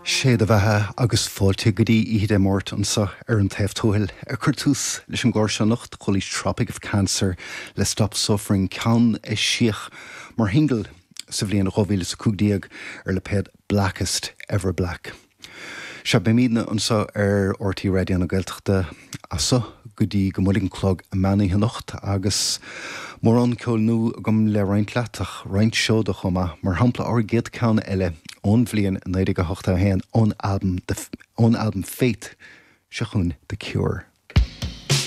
Sé do bheatha agus fáilte go dtí Oíche Dé Máirt anseo ar An Taobh Tuathail. Ag cur tús leis an gclár seo anocht, chualaís Tropic of Cancer le Stop Suffering, ceann a eisíodh mar shingil sa bhliain 2015 ar lipéad Blackest Ever Black. Sea, beimidne anseo ar RTÉ Raidió na Gaeltachta as seo go dtí go mbuailfidh an clog meán oíche anocht agus mórán ceoil nua agam le roinnt leat ach roinnt seoda chomh maith, mar shampla ár gcéad ceann eile ón bhliain 1981 ón albam ón albam Faith, seo chugainn The Cure.